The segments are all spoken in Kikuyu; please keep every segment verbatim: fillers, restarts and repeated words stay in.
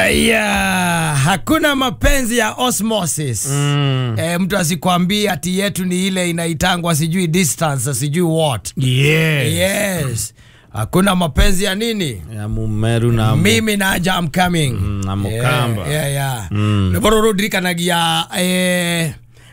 Yeah, hakuna mapenzi ya osmosis. Mm. E, mtu asikwambie ati yetu ni ile inaitangwa sijui distance, sijui what. Yes. Yes. Hakuna mapenzi ya nini? Ya Mumeru na mimi na aja I'm coming. Mm, na Mukamba. Yeah, yeah, yeah. Mm. Neboro Rodrika nagia eh,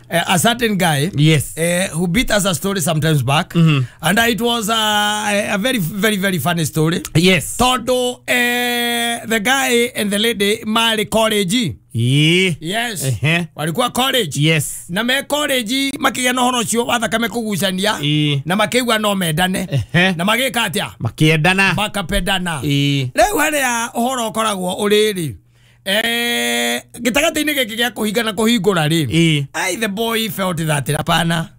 a certain guy, yes, eh, who beat us a story sometimes back. Mm-hmm. And it was a, a very, very, very funny story. Yes. Todo eh, the guy and the lady mali college. Yeah. Yes. Uh-huh. Walikuwa college. Yes. Na me college makigia no horo cio wathakame kugucania. Yeah. Na makiigua no mendane. Uh-huh. Na magika atia? Makiendana. Makapendana. Yeah. Riu haria uhoro ukoragwo uriri. Eh, gitagati-inĩ gĩkĩ gĩa kũhinga na kũhingũra rĩ. I the boy felt that hapana.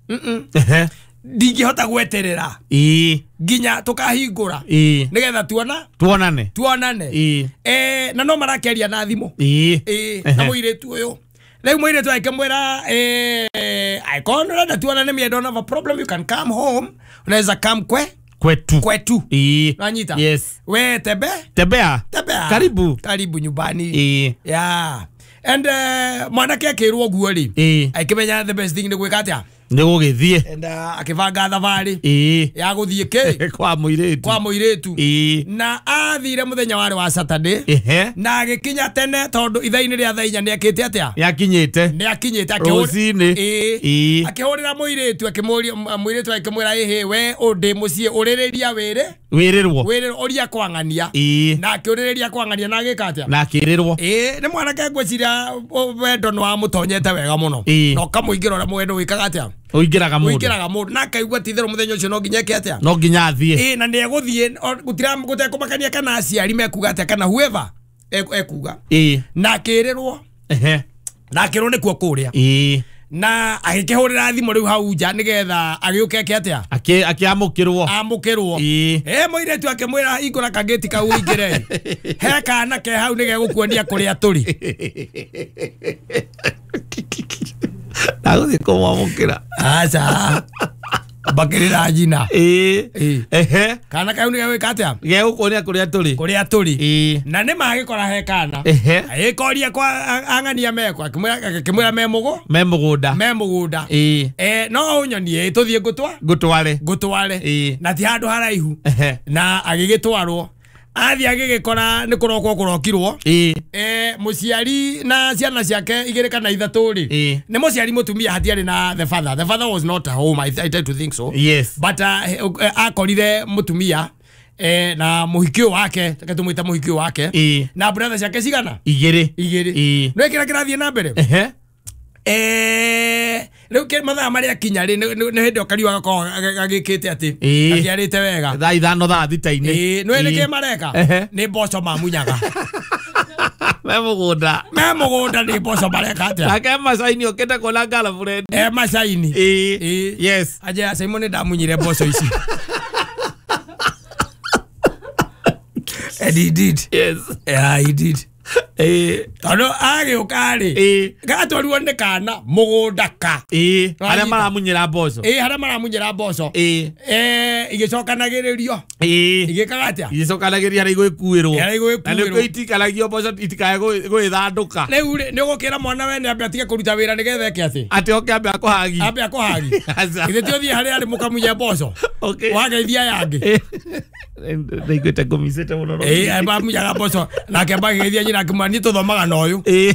Mm. Mm. Ndingĩhota gweterera. Ĩ. Nginya tukahingũra. Ĩ. Nigetha tuona tuonane. Tuonane. Ĩ. Eh, na no marakeria na thimũ. Ĩ. Ĩ, na mũirĩtu ũyũ. Rĩu mũirĩtu akĩmwĩra eh I can't renda tuonane, me I don't have a problem, you can come home. Unaweza come kwe kwetu. Kwetu. Ii. Nanyita. Yes. We tebe? Tembea. Tembea. Karibu. Karibu nyumbani. Ii. Yeah. And uh, mwanake akirwo guo ri. Ii. Akimenya the best thing ni gwika atia? Ni gugithie. And uh, akibanga thabarĩ. Ii. Ya guthie ki? Kwa muiritu. Kwa muiritu. Ii. Na athire muthenya wari wa Saturday. Ehe. Na agikinya tene tondu ithaini ria thaa inya ni akite atia? Ni akinyite. Ni akinyite akihurira. Ii. Ii. Akihurira muiritu akimuria muiritu akimwira ehe we undi mucii uririria wire. Wirirwo. Wirirwo uria kwang'ania. Ii. Na akiuririria kwang'ania na agika atia? Na akirirwo. Ii, ni mwanake ngwiciria wendo ni wamutonyete wega muno. Na ukamuingira uria mwendo wikaga atia? Uingiraga mundu. Uingiraga mundu na akaigua ti itherũ muthenya ucio no nginya eke atia? No nginya athie. Ii, na ni eguthie gutira gutekumakania kana aciari mekuga atia kana whoever ekuga. Ii. Na akirirwo. Ehe. Na akirwo nikuo kuria. Ii. Na agikihurira thimu riu hau nja nigetha agiuke eke atia? Aki akiamukirwo. Amukirwo. Ii. Eh muiretu akimwira hingura kageti kau uingire. He kana ke hau nigegukuonia kuria turi. Ndaguthie kumwamukira. Aca. Bakirira njina. Ii. Ehe. Kana kau nigegwika atia? Gegukuonia kuria turi. Kuria turi. Ii. Na ni magikora he kana. Ehe. Agikoria kwa ang'ania mekwa akimwira akimwira me mugo. Me mugunda. Me mugunda. Ii. Eh no unyonie tuthie ngutwa. Ngutware. Ngutware. Ii. Na ti handu haraihu. Ehe. Na agigitwarwo. Athi agigikora ni kurokwo kurokirwo. Ii. Eh muciari na ciana ciake igiri kana ithatu ri. Ii. Ni muciari mutumia hatiari na the father. The father was not at home. I, I try to think so. Yes. But uh, akorire mutumia eh na muhikio wake, tumwita muhikio wake. Ii. Na brother ciake cigana? Igiri. Igiri. Ii. No kira kirathie na mbere. Ehe. Eh riu ke mathaa maria kinya ri ni hindi okariwa gakorwo gagikite ati akiarite wega thaa ithano thaa thita-inĩ. Ii, no nĩ kĩ mareka ni mboco mamunyaga. Me mugunda. Me mugunda ni mboco mareka atia? Nake macaini okite kuona girlfriend. E macaini. Ii. Yes. Aje Simon ni ndamunyire mboco ici. And he did. Yes. Yeah, he did. Eh, tondu agiuka ri eh gatwarirwo ni kana mugunda ka eh haria maramunyira mboco. Eh haria maramunyira mboco. Eh eh igicokanagiririo. Eh igikaga atia? Igicokanagiriria haria igwikuirwo. Haria igwikuirwo. Na nikuo itikaragio mboco itikae gwithanduka. Riu ri ni ugukira mwana wene ambe atige kuruta wira nigetha eke ati ati oke ambe akuhagi. Ambe akuhagi. Ithe ti uthie haria ari mukamunye mboco. Okay. Wageithia yangi. Ndaiguite ngumicite muno. Eh mamunyaga mboco nake mageithia nyina akimwira ni tuthomaga na uyu. Eh.